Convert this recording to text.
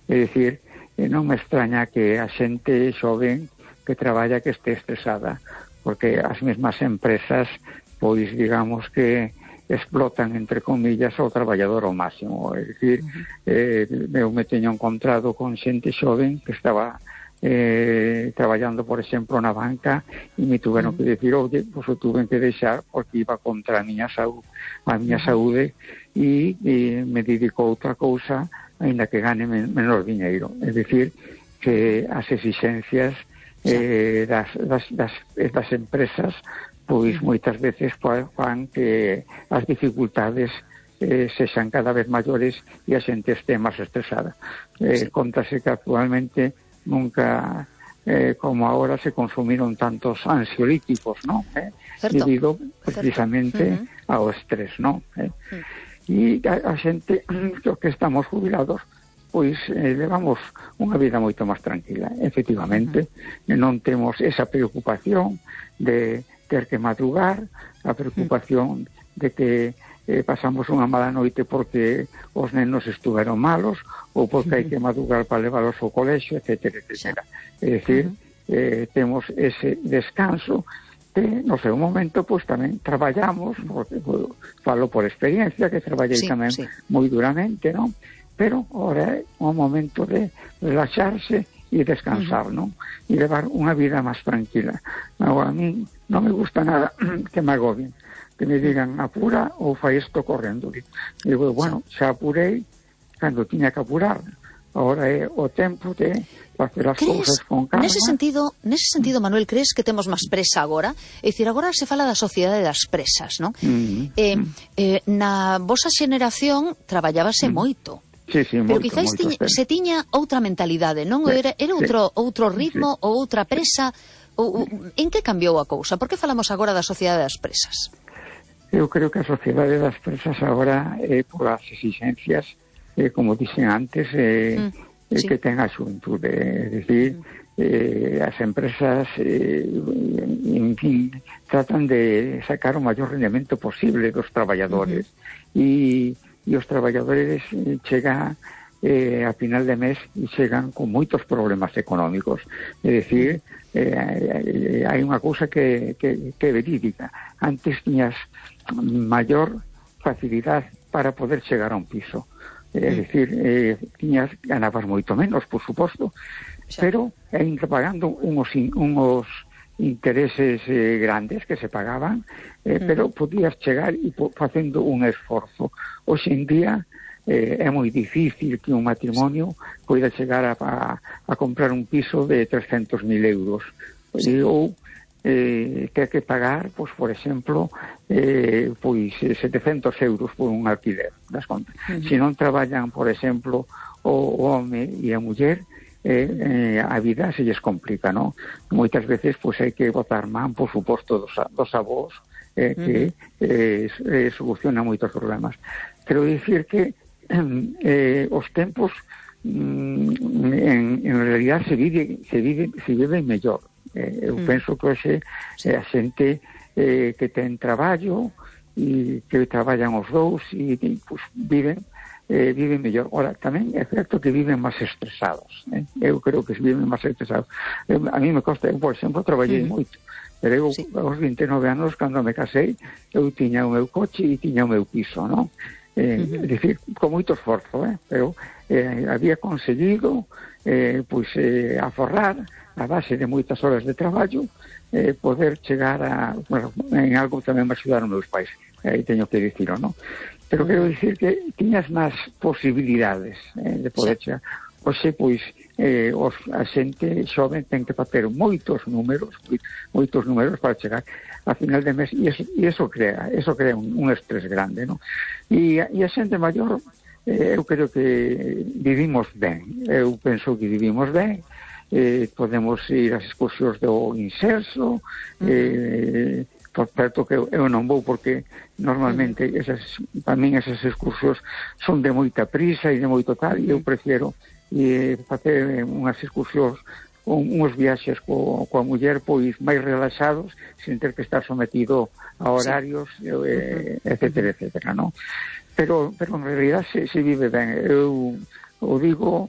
É dicir, non me extraña que a xente xoven que traballa que este estresada, porque as mesmas empresas, pois digamos que explotan, entre comillas, ao traballador ao máximo. É dicir, eu me teño encontrado con xente xoven que estaba traballando, por exemplo, na banca, e me tuveron que decir, oye, pues o tuven que deixar porque iba contra a miña saúde, e me dedico a outra cousa, aínda que gane menor diñeiro. É dicir, que as exixencias das empresas, pois moitas veces fan que as dificultades sexan cada vez maiores e a xente este máis estresada. Contase que actualmente nunca como ahora se consumiron tantos ansiolíticos, ¿no? Debido precisamente ao estrés, ¿no? E a xente que estamos jubilados, pois levamos unha vida moito máis tranquila. Efectivamente, non temos esa preocupación de ter que madrugar, a preocupación de que pasamos unha mala noite porque os nenos estuveron malos ou porque hai que madrugar para leválos ao colexio, etcétera, etcétera. É dicir, temos ese descanso que no seu momento pois tamén traballamos, porque falo por experiencia que traballei tamén moi duramente, non? Pero ahora é un momento de relaxarse e descansar, non? E levar unha vida máis tranquila. Agora, a mí non me gusta nada que me agobien, que me digan apura ou fai isto correndo. Digo, bueno, xa apurei cando tiña que apurar. Ahora é o tempo de facer as cousas con calma. Nese sentido, Manuel, crees que temos máis presa agora? É dicir, agora se fala da sociedade das presas, non? Na vosa xeneración traballábase moito. Pero quizáis se tiña outra mentalidade, non? Era outro ritmo ou outra presa. En que cambiou a cousa? Por que falamos agora da sociedade das presas? Eu creo que a sociedade das presas agora por as exixencias, como dixen antes, que ten a xuventude. É dicir, as empresas en fin, tratan de sacar o maior rendemento posible dos traballadores, e os traballadores chegan a final de mes e chegan con moitos problemas económicos. É dicir, hai unha cousa que é verídica. Antes tiñas maior facilidade para poder chegar a un piso. É dicir, ganabas moito menos, por suposto, pero ainda pagando uns intereses grandes que se pagaban, pero podías chegar e facendo un esforzo. Hoxe en día é moi difícil que un matrimonio poida chegar a comprar un piso de 300.000 euros, ou ter que pagar, pois, por exemplo, pois 700 euros por un alquiler das contas. Se non traballan, por exemplo, o home e a muller, a vida se lles complica, non? Moitas veces pois hai que botar man, por suposto, dos avós, que soluciona moitos problemas. Quero dicir que os tempos en realidad se vive mellor. Eu penso que hoxe a xente que ten traballo e que traballan os dous e pues, viven mellor. Ora, tamén é certo que viven máis estresados. Eu creo que viven máis estresados. A mí me costa, eu, por exemplo, traballei moito, pero eu aos 29 anos, cando me casei, eu tiña o meu coche e tiña o meu piso, non? É dicir, con moito esforzo, pero había conseguido aforrar a base de moitas horas de traballo, poder chegar a, bueno, en algo tamén me axudaron meus pais, aí teño que dicirlo, non? Pero quero dicir que tiñas máis posibilidades de poder chegar. Oxe, pois, a xente xoven ten que facer moitos números para chegar a final de mes, e eso crea un estrés grande, non? E a xente maior, eu creo que vivimos ben, eu penso que vivimos ben, podemos ir ás excursións do Inserso, por certo que eu non vou porque normalmente para min esas excursións son de moita prisa e de moito tal, e eu prefiero facer unhas excursións, uns viaxes coa muller pois máis relaxados, sin ter que estar sometido a horarios, etcétera, etcétera, non? Pero en realidad se vive ben. Eu o digo